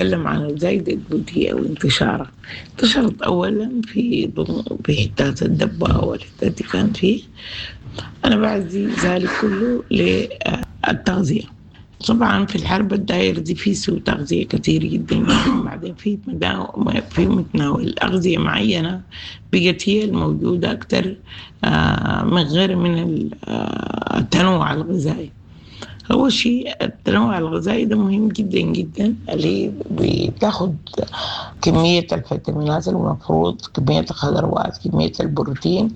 نتكلم عن الزايدة الدودية وانتشارها. انتشرت أولا في حتات الدبة والحتات دي كان فيه. أنا بعزي ذلك كله للتغذية. طبعا في الحرب الداير دي في سوء تغذية كثير جدا، بعدين في متناول أغذية معينة بقت هي الموجودة أكثر من غير من التنوع الغذائي. أول شيء التنوع الغذائي ده مهم جدا جدا، اللي بتاخد كمية الفيتامينات المفروض، كمية الخضروات، كمية البروتين،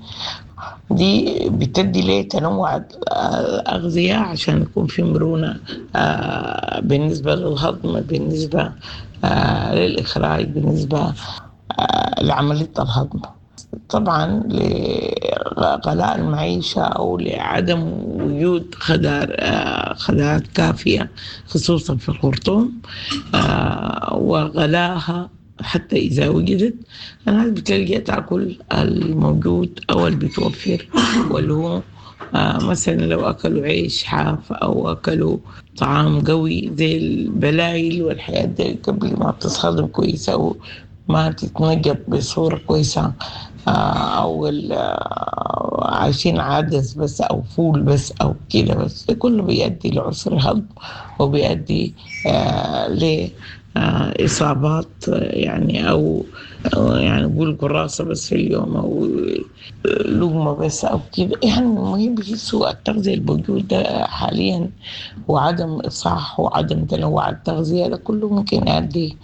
دي بتدي ليه تنوع الأغذية عشان يكون في مرونة بالنسبة للهضم، بالنسبة للإخراج، بالنسبة لعملية الهضم. طبعا لغلاء المعيشة أو لعدم وجود خضار كافية خصوصا في الخرطوم، وغلاها حتى إذا وجدت الناس بتلقى تأكل الموجود أو اللي بتوفر، واللي هو مثلا لو أكلوا عيش حاف أو أكلوا طعام قوي زي البلايل والحياة دي قبل ما بتتهضم كويس أو ما تتنجط بصورة كويسة، أو عايشين عدس بس أو فول بس أو كده بس، ده كله بيؤدي لعسر هضم وبيؤدي لإصابات أو نقول قراصة بس في اليوم أو لقمة بس أو كده. المهم سوء التغذية الموجودة حاليا وعدم إصحاح وعدم تنوع التغذية ده كله ممكن يؤدي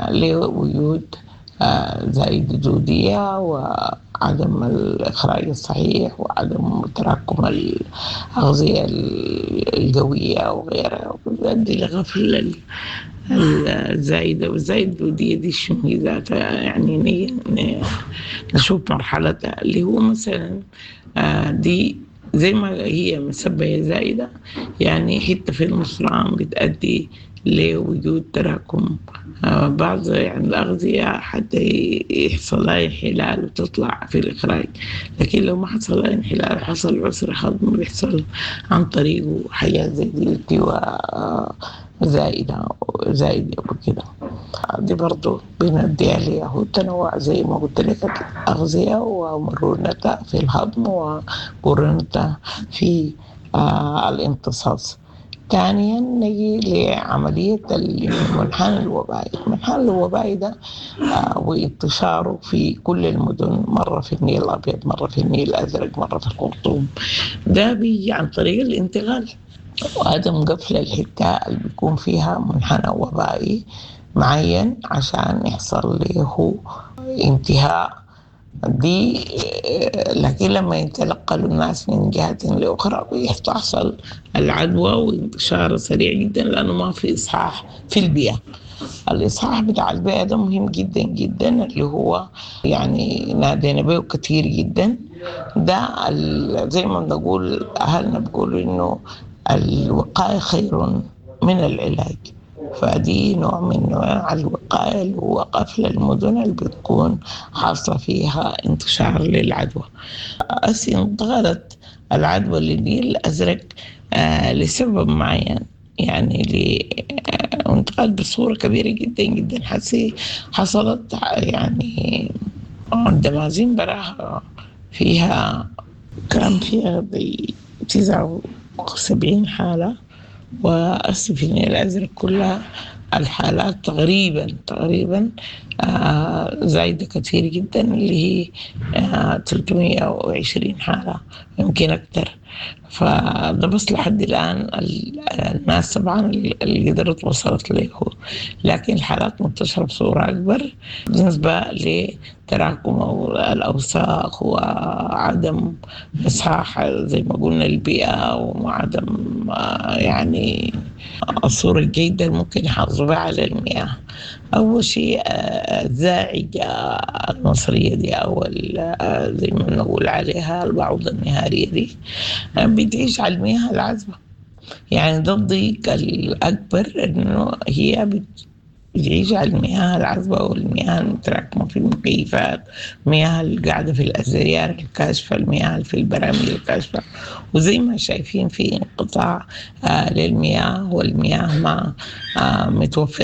لوجود زايدة دودية وعدم الإخراج الصحيح وعدم تراكم الأغذية القوية وغيرها، وبيؤدي لغفل الزايدة. والزايدة الدودية دي شنو هي ذاتها؟ نشوف مرحلتها اللي هو مثلا دي زي ما هي مسبية زايدة، حتى في المصران بتؤدي لوجود تراكم بعض الأغذية حتى يحصل لها انحلال وتطلع في الإخراج، لكن لو ما حصل لها انحلال حصل عسر هضم بيحصل عن طريقه حاجات زي دي التواء زائدة وكده. دي برضو بندي عليها هو التنوع زي ما قلت لك الأغذية ومرونتها في الهضم ومرونتها في الامتصاص. ثانيا نجي لعملية المنحنى الوبائي. المنحنى الوبائي ده وانتشاره في كل المدن، مرة في النيل الأبيض، مرة في النيل الأزرق، مرة في الخرطوم، ده بيجي عن طريق الانتقال وعدم قفل الحتة اللي بيكون فيها منحنى وبائي معين عشان يحصل له انتهاء دي. لكن لما يتنقلوا الناس من جهة لأخرى بتحصل العدوى وانتشار سريع جدا، لأنه ما في إصحاح في البيئة. الإصحاح بتاع البيئة ده مهم جدا جدا، اللي هو نادينا به كثير جدا. ده زي ما بنقول أهلنا بيقولوا إنه الوقاية خير من العلاج، فدي نوع من أنواع الوقاية اللي هو قفل المدن اللي بتكون حاصلة فيها انتشار للعدوى. أصلاً انتقلت العدوى للنيل الأزرق لسبب معين، انتقلت بصورة كبيرة جدا جدا. حصلت الدمازين براها فيها كان فيها 79 حالة، وأسف إن الأزرق كلها الحالات تقريبا زايدة كثير جدا، اللي هي 320 حالة يمكن أكثر. فده بس لحد الآن الناس طبعا اللي قدرت وصلت له، لكن الحالات منتشرة بصورة أكبر بالنسبة لتراكم الأوساخ وعدم إصحاح زي ما قلنا البيئة، وعدم الصورة الجيدة اللي ممكن يحافظوا بها على المياه. أول شيء الزاعجة المصرية دي أو زي ما نقول عليها البعوضة النهارية دي بتعيش على المياه العذبة. ده الضيق الأكبر إنه هي بتعيش على المياه العذبة والمياه المتراكمة في المكيفات، المياه اللي قاعدة في الأزيار الكاشفة، المياه اللي في البراميل الكاشفة. وزي ما شايفين في انقطاع للمياه، والمياه ما متوفرة.